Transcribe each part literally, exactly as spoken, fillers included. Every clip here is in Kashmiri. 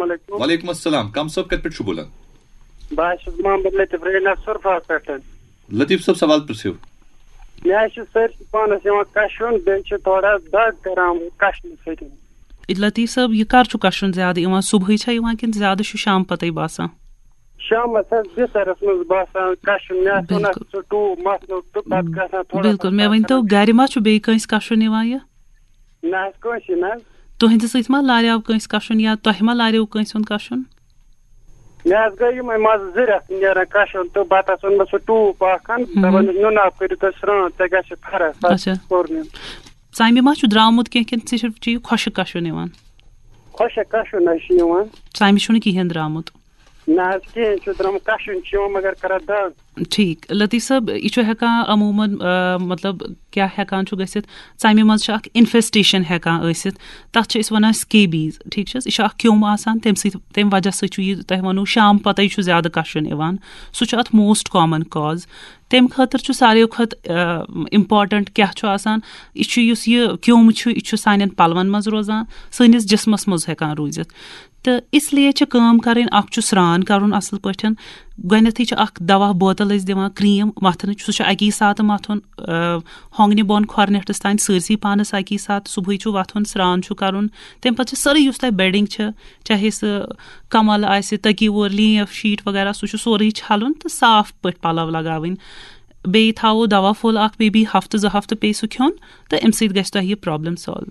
السلام علیکم۔ وعلیکم السلام، کم صٲب کتہِ پٮ۪ٹھ چھُو بولان؟ بہٕ حظ چھُس محمد لطیف رینہ سُرفا پٮ۪ٹھ۔ لطیف صٲب، سوال پرٛژھِو۔ مےٚ حظ چھِ سٲرسٕے پانَس یِوان کَشُن، بیٚیہِ چھِ تھوڑا دَگ کَران کَشنہٕ سۭتۍ۔ لطیف صٲب، یہِ کر چھُ کشُن زیادٕ یِوان؟ صبحٲے چھا یِوان کِنہٕ زیادٕ چھُ شام پتے باسان؟ شامس حظ بسترس منٛز باسان کشُن، مےٚ آسہِ وَنان بِلکُل۔ سُہ ٹوٗپ مَتھنُک تہٕ پتہٕ گژھان تھوڑا بِلکُل۔ سا مےٚ ؤنۍ تو، کشُن۔ گرِ ما چھُ بیٚیہِ کٲنٛسہِ کشُن یِوان یہِ؟ نہ حظ، کٲنٛسی نہ حظ۔ تُہنٛدِ سۭتۍ ما لاریو کٲنٛسہِ کشُن یا تۄہہِ ما لاریو کٲنٛسہِ ہُنٛد کشُن؟ مےٚ حظ گٔے یِمے منٛزٕ زٕ رٮ۪تھ نیران کشُن تہٕ پتہٕ حظ اوٚن مےٚ سُہ ٹوٗپ اکھ ہن، مہم۔ دپان، "نُنہٕ آب کٔرِو تُہۍ سرٛان، تۄہہِ گژھِ فرق۔" پتہٕ اچھا۔ کوٚر مےٚ۔ ژَمہِ ما چھُ درٛامُت کینٛہہ کِنہٕ صرف چھُ یہِ خۄشٕک کَشُن یِوان؟ خۄشٕک کَشُن حظ چھُ یِوان۔ ژَمہِ چھُنہٕ کِہیٖنۍ درٛامُت؟ نہ حظ، کِہیٖنۍ چھُ درٛامُت، کَشُن چھُ یِوان مگر کَران دَگ۔ ٹھیٖک، لطیف صٲب، یہِ چھُ ہٮ۪کان عموٗماً، آ، مطلب، کیٛاہ ہٮ۪کان چھُ گٔژھِتھ؟ ژَمہِ منٛز چھِ اَکھ اِنفٮ۪سٹیشَن ہٮ۪کان ٲسِتھ، تَتھ چھِ أسۍ وَنان سکیبیٖز، ٹھیٖک چھِ حظ؟ یہِ چھُ اَکھ کیوٚم آسان، تَمہِ سۭتۍ، تَمہِ وجہ سۭتۍ چھُ یہِ تۄہہِ وَنو شام پَتَے چھُ زیادٕ کَشُن یِوان، سُہ چھُ اَتھ موسٹ کامَن کاز۔ تَمہِ خٲطرٕ چھُ ساروِیو کھۄتہٕ، آ، اِمپاٹَنٛٹ کیٛاہ چھُ آسان، یہِ چھُ یُس یہِ کیوٚم چھُ، یہِ چھُ سانٮ۪ن پَلوَن منٛز روزان، سٲنِس جِسمَس منٛز ہٮ۪کان روٗزِتھ۔ تہٕ اس لیے چھِ کٲم کَرٕنۍ، اَکھ چھُ سرٛان کَرُن اَصٕل پٲٹھۍ، گۄڈٕنٮ۪تھٕے چھِ اَکھ دَوا بوتَل أسۍ دِوان، کرٛیٖم مَتھنٕچ، سُہ چھُ اَکی ساتہٕ مَتھُن، آ، ہۄنٛگنہِ بۄن کھۄر نیٚٹھَس تام سٲرسٕے پانَس اَکی ساتہٕ، صُبحٲے چھُ وۄتھُن، سرٛان چھُ کَرُن، تَمہِ پَتہٕ چھِ سٲرٕے یُس تۄہہِ بیڈِنٛگ چھِ، چاہے سُہ کمل آسہِ، تٔکی وور، لیف شیٖٹ وغیرہ، سُہ چھُ سورُے چھلُن تہٕ صاف پٲٹھۍ پلو لگاوٕنۍ۔ بیٚیہِ تھاوو دوا پھوٚل اکھ، maybe ہفتہٕ زٕ ہفتہٕ پیٚیہِ سُہ کھیوٚن تہٕ اَمہِ سۭتۍ گژھِ تۄہہِ یہِ problem solve۔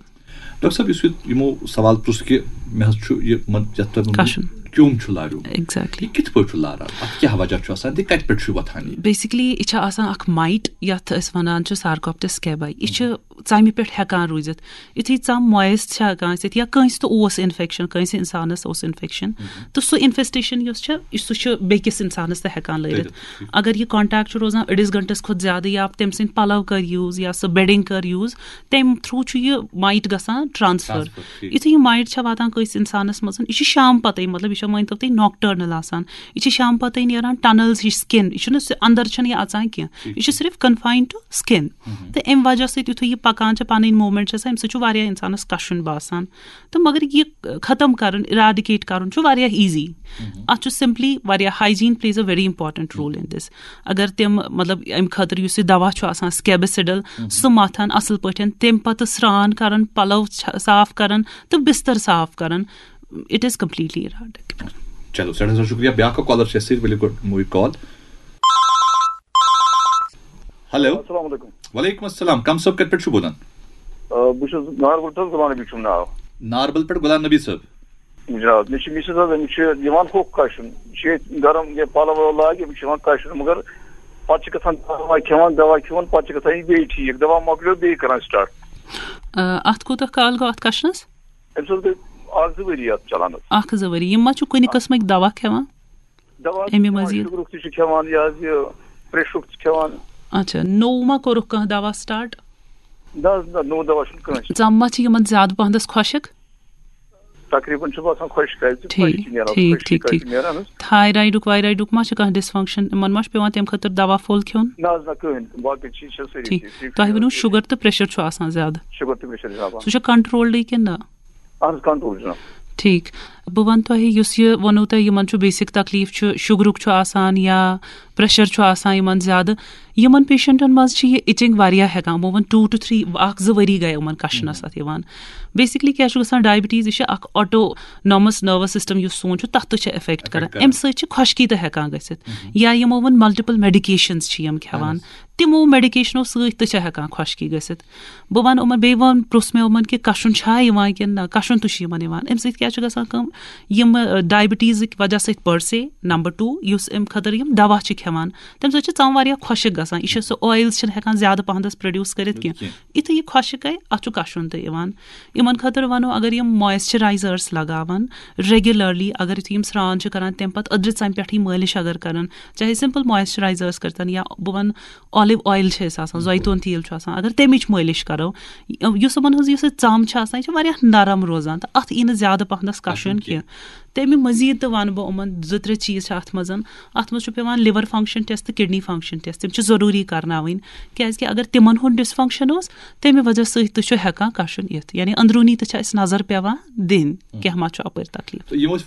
ڈاکٹر صٲب، یُس یہِ یِمو سوال پرُژھ کہِ مےٚ حظ چھُ یہِ من-، یَتھ تۄہہِ ووٚنوُ کَشُن۔ کیوٚم چھُ لاریومُت۔ Exactly۔ یہِ کِتھ پٲٹھۍ چھُ لاران؟ اَتھ کیٛاہ وجہ چھُ آسان؟ تہٕ کَتہِ پٮ۪ٹھ چھُ یہِ وۄتھان یہِ؟ Basically، یہِ چھِ آسان اکھ mite، یَتھ أسۍ وَنان چھِ Sarcoptes scabiei۔ یہِ چھِ ژَمہِ پٮ۪ٹھ ہٮ۪کان روٗزِتھ۔ یُتھُے ژَم moist چھِ ہٮ۪کان ٲسِتھ یا کٲنٛسہِ تہِ اوس infection، کٲنٛسہِ اِنسانَس اوس infection، مہم۔ تہٕ سُہ infestation یُس چھِ، یہِ، سُہ چھُ بیٚکِس اِنسانَس تہِ ہٮ۪کان لٲرِتھ۔ لٲرِتھ، ٹھیٖک۔ اگر یہِ contact چھُ روزان أڑِس گھنٹَس کھۄتہٕ زیادٕ یا تٔمۍ سٕنٛدۍ پَلَو کٔر use یا سُہ bedding کٔر use، تَمہِ through چھُ یہِ mite گژھان transfer۔ Transfer، ٹھیٖک۔ یُتھُے یہِ mite چھےٚ واتان کٲنٛسہِ اِنسانَس منٛز، یہِ چھِ شام پَتَے، مطلب، یہِ چھےٚ، مٲنۍ تو تُہۍ، nocturnal آسان۔ یہِ چھِ شام پَتَے نیران tunnels ہِش skin، یہِ چھُنہٕ سُہ اَندَر چھَنہٕ یہِ اَژان کینٛہہ۔ ٹھیٖک۔ یہِ چھِ صرف confined to skin۔ مہم۔ تہٕ اَمہِ وجہ سۭتۍ یُتھُے یہِ پَکان چھِ، پَنٕنۍ movement چھِ آسان، اَمہِ سۭتۍ چھُ واریاہ اِنسانَس کَشُن باسان۔ تہٕ مگر یہِ ختم کَرُن، eradicate کَرُن چھُ واریاہ easy۔ مہم۔ اَتھ چھُ simply واریاہ، hygiene plays a very important role in this۔ اگر تِم، مطلب، اَمہِ خٲطرٕ یُس یہِ دوا چھُ آسان، Scabicidal، مہم۔ سُہ مَتھَن اَصٕل پٲٹھۍ، تَمہِ پَتہٕ سرٛان کَرَن، پَلَو چھَ-، صاف کَرَن تہٕ بِستَر صاف کَرَن، it is completely eradicated۔ چلو، سٮ۪ٹھاہ سٮ۪ٹھاہ شُکریہ۔ بیٛاکھ اَکھ caller چھِ اَسہِ سۭتۍ، ؤلِو گۄڈٕ نِمو یہِ call۔ ہیلو۔ السلام علیکم۔ وعلیکم السلام، کم صٲب کتہِ پٮ۪ٹھ چھِو بولان؟ آ، بہٕ چھُس ناربل پٮ۪ٹھ، غلام نبی چھُم ناو۔ ناربل پٮ۪ٹھ غلام نبی صٲب۔ جناب، مےٚ چھِ مِسز حظ، أمِس چھُ یِوان ہوٚکھ کشُن، یہِ چھِ ییٚتہِ گرم یہِ پلو ولو لاگہِ، أمِس چھِ یِوان کشُن، مگر پتہٕ چھِ گژھان دوا کھٮ۪وان، دوا کھٮ۪وان، پتہٕ چھِ گژھان یہِ بیٚیہِ ٹھیٖک، دوا مۄکلیو بیٚیہِ کران سٹارٹ۔ آ، اتھ کوٗتاہ کال گوٚو اتھ کشنس؟ أمِس حظ گٔے اکھ زٕ ؤری اتھ چلان حظ۔ اکھ زٕ ؤری۔ یِم ما چھِو کُنہِ آ۔ قٕسمٕکۍ دوا کھٮ۪وان؟ دوا اَمہِ کھٮ۪وان، مٔزیٖد؟ شُگرُک تہِ چھُ کھٮ۪وان، یہِ حظ یہِ پریشرُک تہِ چھُ کھٮ۪وان۔ اچھا، نوٚو ما کوٚرُکھ کانٛہہ دوا سٹارٹ؟ نہ حظ، نہ، نوٚو دوا چھُنہٕ کٲنٛسہِ۔ ژَم ما چھِ یِمن زیادٕ پہنَس خۄشک؟ تقریباً چھُ باسان خۄشک، کیٛازِ ٹھیٖک، خۄشکی نیران، ٹھیٖک، خۄشکی ٹھیٖک، کَتہِ ٹھیٖک۔ نیران حظ؟ تھایرایڈُک وایرایڈُک ما چھُ کانٛہہ dysfunction؟ یِمن ما چھُ پٮ۪وان تَمہِ خٲطرٕ دوا پھوٚل کھیوٚن؟ نہ حظ، نہ، کٕہٕنۍ، باقٕے چیٖز چھِ سٲری ٹھیٖک۔ ٹھیٖک۔ تۄہہِ ؤنِو، شُگر تہٕ پریشر چھُ آسان زیادٕ؟ شُگر تہٕ پریشر جناب۔ سُہ چھُ کنٹرولڈٕے کِنہٕ نہ؟ اہن حظ، کنٹرول جناب۔ ٹھیٖک۔ بہٕ وَنہٕ تۄہہِ، یُس یہِ ووٚنوٕ تۄہہِ، یِمَن چھُ بیسِک تکلیٖف چھُ، شُگرُک چھُ آسان یا پریشر چھُ آسان یِمَن زیادٕ، یِمَن پیشنٹَن منٛز چھِ یہِ اِچِنٛگ واریاہ ہٮ۪کان، بہٕ وَنہٕ ٹوٗ ٹُو تھرٛی، اَکھ زٕ ؤری گٔے یِمَن کَشنَس اَتھ یِوان۔ بیسِکلی کیٛاہ چھُ گژھان، ڈایبٹیٖز، یہِ چھِ اَکھ آٹونامَس نٔروَس سِسٹَم یُس سون چھُ، تَتھ تہِ چھِ افیکٹ کران۔ افیکٹ کران۔ اَمہِ سۭتۍ چھِ خۄشکی تہِ ہٮ۪کان گٔژھِتھ۔ مہم۔ یا یِمو ووٚن ملٹیپل میڈیکیشنز چھِ یِم کھٮ۪وان، اہن حظ۔ تِمو میڈیکیشنو سۭتۍ تہِ چھِ ہٮ۪کان خۄشکی گٔژھِتھ۔ بہٕ وَنہٕ یِمَن، بیٚیہِ وَن، پرٛژھ مےٚ یِمَن کہِ کَشُن چھا یِوان کِنہٕ نہ، کَشُن تہِ چھُ یِمَن یِوان۔ اَمہِ سۭتۍ کیٛاہ چھُ گژھان کٲم؟ یِم، ٲ، ڈایبٹیٖزٕکۍ وجہ سۭتۍ per se، نمبر ٹوٗ، یُس اَمہِ خٲطرٕ یِم دَوا چھِ کھٮ۪وان، تَمہِ سۭتۍ چھِ ژَم واریاہ خۄشٕک گژھان۔ یہِ چھِ سُہ oils چھِنہٕ ہٮ۪کان زیادٕ پَہَنَس produce کٔرِتھ کینٛہہ۔ کینٛہہ۔ یُتھُے یہِ خۄشٕک گٔے، اَتھ چھُ کَشُن تہِ یِوان۔ یِمَن خٲطرٕ وَنو، اگر یِم moisturizers لَگاوَن regularly، اگر یُتھُے یِم سرٛان چھِ کَران، تَمہِ پَتہٕ أدرِ ژَمہِ پٮ۪ٹھٕے مٲلِش اگر کَرَن، چاہے simple moisturizers کٔرۍتَن یا بہٕ وَنہٕ olive oil چھِ أسۍ آسان، زیتون تیٖل چھُ آسان، اگر تَمِچ مٲلِش کَرو، یُس یِمَن ہٕنٛز یُس یہِ ژَم چھِ آسان، یہِ چھِ واریاہ نرم روزان تہٕ اَتھ یی نہٕ زیادٕ پَہنَس کَشُن کَشُن کینٛہہ۔ تَمہِ مٔزیٖد تہِ وَنہٕ بہٕ یِمَن زٕ ترٛےٚ چیٖز چھِ اَتھ منٛز۔ اَتھ منٛز چھُ پٮ۪وان liver function test تہٕ kidney function test، تِم چھِ ضروٗری کَرناوٕنۍ، کیٛازِکہِ اگر تِمَن ہُنٛد dysfunction اوس، تَمہِ وجہ سۭتۍ تہِ چھُ ہٮ۪کان کَشُن یِتھ۔ یعنی أنٛدروٗنی تہِ چھِ اَسہِ نظر پٮ۪وان دِنۍ، کینٛہہ ما چھُ اَپٲرۍ تکلیٖف۔ تہٕ یِم ٲسۍ